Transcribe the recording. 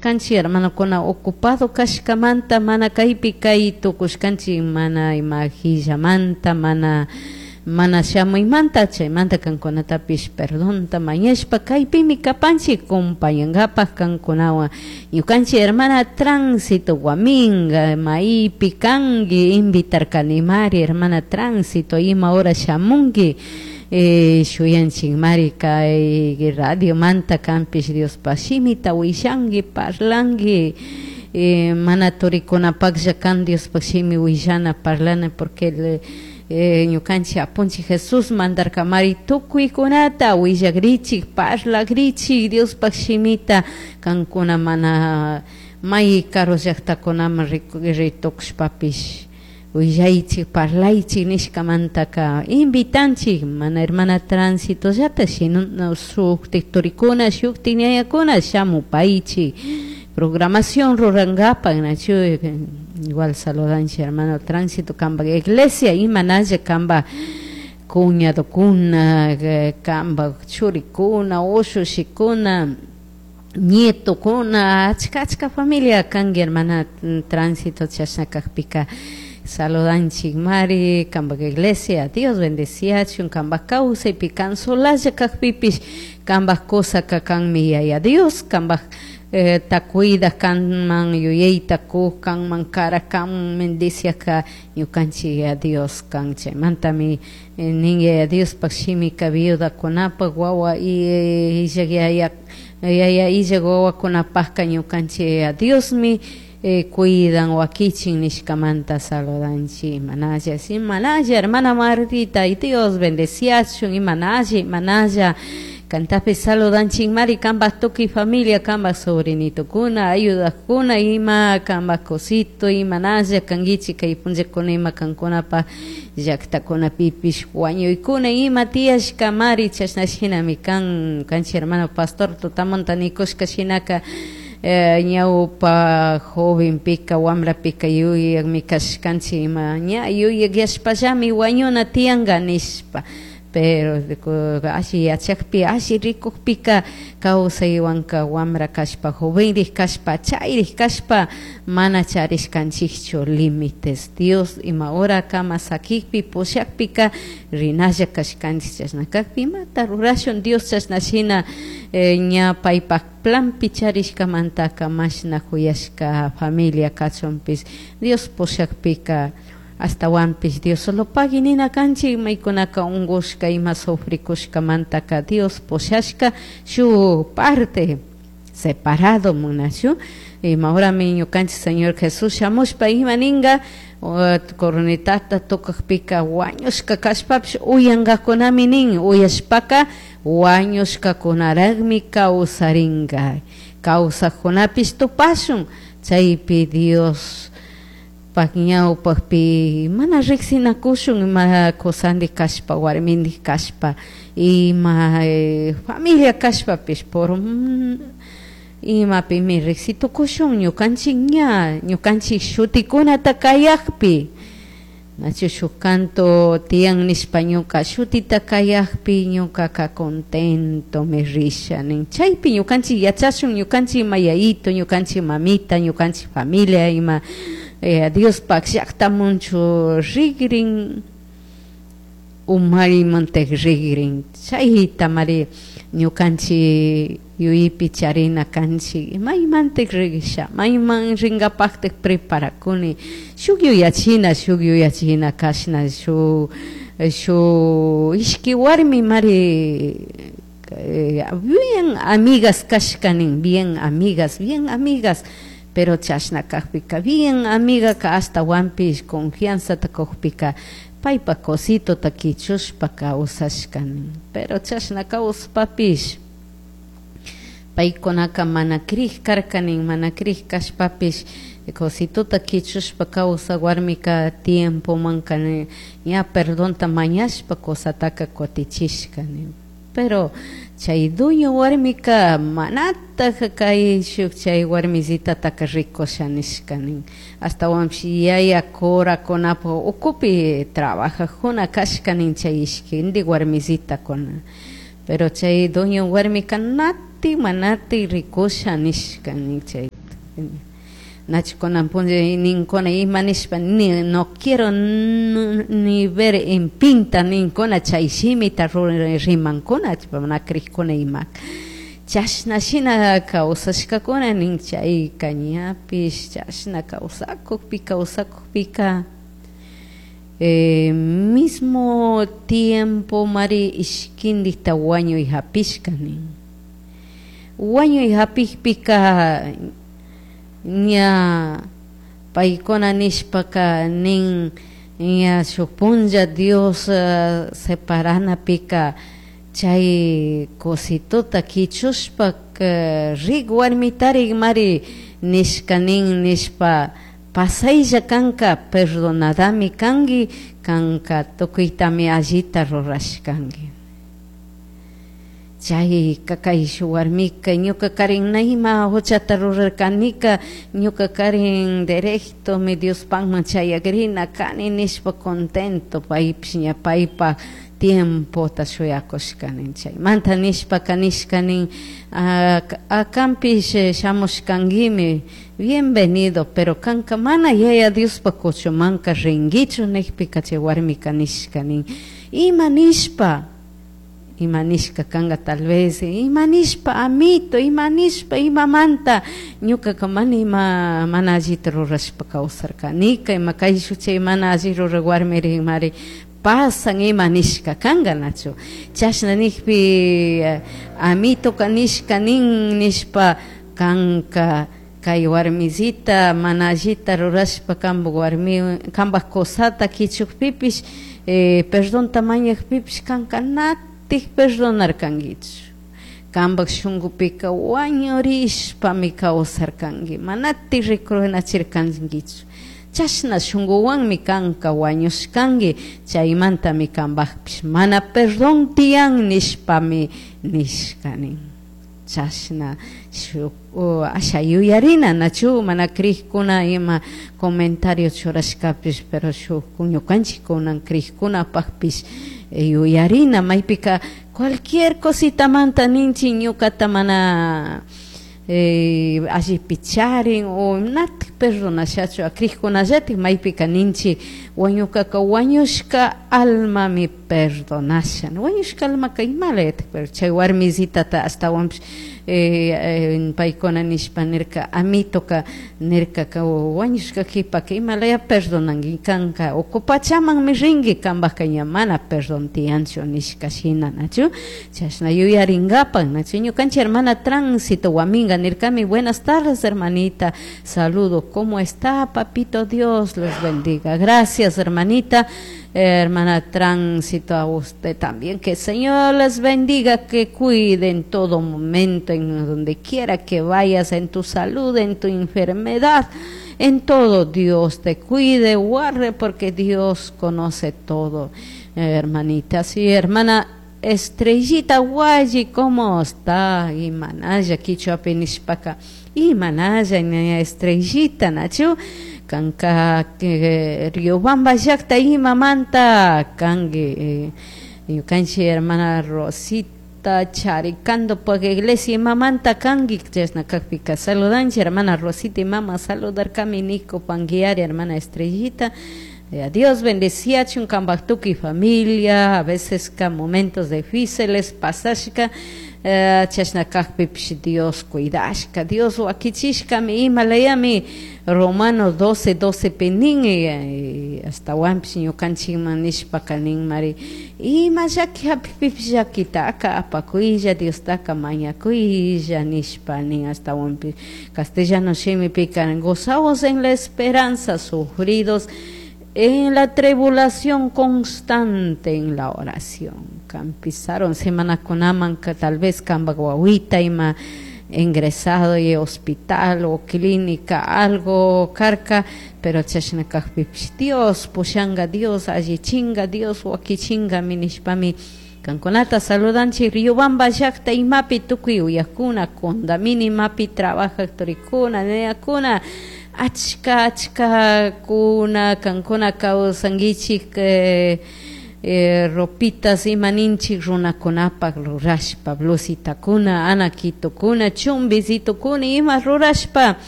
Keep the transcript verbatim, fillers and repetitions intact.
tucushkanchik hermanokuna ocupado kashkamanta mana kaypi kay tukushkanchik mana ima hillamanta mana mana shamuymanta chaymanta kankunatapish perdonta mañashpa kaypimi kapanchik compañankapak kankunawan ñukanchik hermana Tránsito Guaminga maypi kanki invitarkanimari hermana Tránsito ima hora shamunki eh, shuyanchikmari kay radiomanta kanpish Diospa shimita willanki parlanki eh, mana turikunapaklla kan Diospa shimi willana parlana porque el, eh, ñukanchik apunchik Jesús mandarkamari tukuykunata willakrichik parlakrichik Diospaq shimita kankuna mana may karu llaqtakunaman ritukushpapish willaychik parlaychik nishkamantaka invitanchik mana hermana Tránsito llata sino shuktik turikuna shuktik ñañakuna shamupaychik programación rurankapak nachu igual saludanchik hermano Tránsito kamba iglesia imanalla kamba cuñadokuna kamba churikuna ushushikuna nietokuna achka achka familia kanki hermana Tránsito chashna kakpika saludanchik mari kamba iglesia Dios bendeciachun kamba kawsaypi kan solalla kakpipish kamba kusaka kanmi yaya Dios kamba eh, ta cuida kanman yuyayta kuk kanman kara kan bendiciaka ñukanchik yaya Dios kan chaymantami eh, nin yaya Diospaq shimika viudakunapak wawa y illak yaya yaya illak wawakunapakka ñukanchik yaya Diosmi eh, cuidan wakichin nishkamanta saludanchik imanalla imanalla hermana Martita y Dios bendeciachun imanalla imanalla kantapi saludanchik mari kanpak tukuy familia kanpak sobrinitukuna ayudakuna ima kanpak cosito imanalla kankichik kay punllakuna ima kankunapa llaktakunapipish wañuykuna ima tiyashka mari chashna shinami kan kanchik hermano pastor tutamunta nikushka shinaka eh, ñawpa jovenpika wambrapika yuyakmi kashkanchik ima ña yuyakyashpallami wañuna tiyanka nishpa pero alli yachakpi alli rikukpika kawsaywanka wambra kashpa jovenrik kashpa chayrik kashpa mana charishkanchikchu límites Dios ima hora kama sakikpi pushakpika rinalla kashkanchik chashna kakpi imata rurashun Dios chashna shina eh, ña paypak planpi charishkamantaka mashna kuyashka familia kachunpish Dios pushakpika astawanpish Dios solo pagui nina kanchik maykunaka unkushka ima sufrikushkamantaka Dios pushashka shuk parte separado munachu ima horami ñukanchik Señor Jesús shamushpa ima ninka cornetata tocakpika wañushka kashpapish uyankakunami nin uyashpaka wañushkakunaraqmi kawsarinka kawsakkunapish tupashun chaypi Dios pak ñawpakpi mana riksinakushun ima kusandik kashpa warmindik kashpa ima eh, familia kashpapish por imapimi riksitukushun ñukanchik ña ñukanchik shutikunata kayakpi nachu shuk canto tiyan nishpa ñuka shutita kayakpi ñukaka contento mi risha nin chaypi ñukanchik yachashun ñukanchik ima yayito ñukanchik mamita ñukanchik familia ima eh, Diospak llaqtamunchu rikrin umarimantik rikrin chayta mari ñukanchik yuyaypi charina kanchik maymantik risha mayman rinkapaktik preparakuni shuk yuyachina shuk yuyachina kashna shuk shuk ishki warmi mari eh, bien amigas kashkanin bien amigas bien amigas pero chashna kakpika bien amigaka ashtawanpish confianzata kukpika paypa cositota kichushpa kawsashkanin pero chashna kawspapish paykunaka mana krik karkanin mana krik kashpapish cositota kichushpa kawsak warmika tiempomanka ña perdonta mañashpa cosataka kutichishka nin pero chay dueño warmika manataj kay shuk chay warmisitataka rikusha nishka nin ashtawanpish yaya curakunapuk ukupi trabajajuna kashka nin chay ishkindik warmisitakuna pero chay dueño warmika nati manati rikusha nishka nin chay. Nachu kunan punlla ninkuna ima nishpa ni no quiero ni ver en pinta ninkuna chay shimita rimankuna mana crikuna ima chashna shina kawsashkakuna nin chayka ñapish chashna kawsakukpi kawsakukpika eh, mismo tiempo mari ishkindikta wañuy hapishka nin wañuy hapikpika ña paykuna nishpaka nin ña shuk punlla Dios uh, separanapika chay cositota kichushpa rik warmitarik mari nishka nin nishpa pasaylla kanka perdonadami kanki kanka tukuytami allita rurashkanki chayka kay shuk warmika ñuka karin na ima huchata rurarkanika ñuka karin directomi Diospakman chayakrina kani nishpa contento paypish ña paypak tiempota shuyakushkani chaymanta nishpaka nishka nin kanpish shamushkankimi bienvenido pero kanka mana yaya Diospak kuchumanka rinkichu nikpika chay warmika nishka nin ima nishpa ima nishka kanka tal vez ima nishpa amito ima nishpa imamanta ñukaka mana ima mana allita rurashpa kawsarkanika ima kayshuk chay mana alli rurak warmirimari pasan ima nishka kanka nachu chashna nikpi amitoka nishka nin nishpa kanka kay warmisita mana allita rurashpa kanpak warmi kanpak kusata kichukpipish eh, perdonta mañakpipish kanka natik perdonarkankichu kanpak shunkupika wañurishpami kawsarkanki manatik rikunachirkankichu chashna shunkuwanmi kanka wañushkanki chaymantami kanpakpish mana perdón tiyan nishpami nishka nin chashna shuk asha yuyarina nachu mana krikkuna ima comentario churashkapish pero shuk ñukanchik kunan krikkunapakpish yuyarina maypika cualquier cositamanta ninchik ñukata mana eh, allipi charin o natik perdonashachu krikkunallatik maypika ninchik wañukaka wañushka almami perdonasha wañushka almaka imalayatik pero chay warmisitata ashtawanpish eh, eh, paykuna nishpa nirka amitoka nirkaka wañushka kipaka imalaya perdonanki kanka uku pachamanmi rinki kanpaka ña mana perdón tiyanchu nishka shina nachu chashna yuyarinkapak nachu ñukanchik hermana Tránsito Guaminga nirkami buenas tardes hermanita saludo cómo está papito Dios los bendiga gracias hermanita hermana Tránsito a usted también que el Señor les bendiga que cuide en todo momento en donde quiera que vayas en tu salud en tu enfermedad en todo Dios te cuide guarde porque Dios conoce todo eh, hermanita sí hermana Estrellita Guayi ¿cómo está? Imanalla kichwapi nishpaka imanalla Estrellita nachu kanka Riobamba llakta imamanta kanki eh, ñukanchik hermana Rosita Charicando pak iglesia imamanta kanki chashna kakpika saludanchik hermana Rosita imama saludarkami Nico Panguiari hermana Estrellita eh, Dios bendeciachun kanpak tukuy familia a veces ka momentos difíciles pasashka eh, chashna kakpipish Dios cuidashka Dios wakichishkami imalayami Romanos doce doce pi nin eh, ashtawanpish ñukanchikman nishpaka nin mari ima llaki hapikpipish llakitaka apakuylla Diostaka mañakuylla nishpa nin ashtawanpish castellano shimipika gozaos en la esperanza sufridos en la tribulación constante en la oración campizaron semanakunaman tal vez kanpak wawita ima ingresado y hospital o clínica algo karka pero chashna kakpipish Dios pushanga Dios allichinga Dios wakichingami nishpami kankunata saludanchik Riobamba llakta imapi tukuy uyakuna Condamini imapi trabajak turikuna nenakuna achka achkakuna kankuna kawsankichik eh, eh, ropitas ima ninchik runakunapak rurashpa blusitakuna anakitukuna chumbisitukuna ima rurashpa.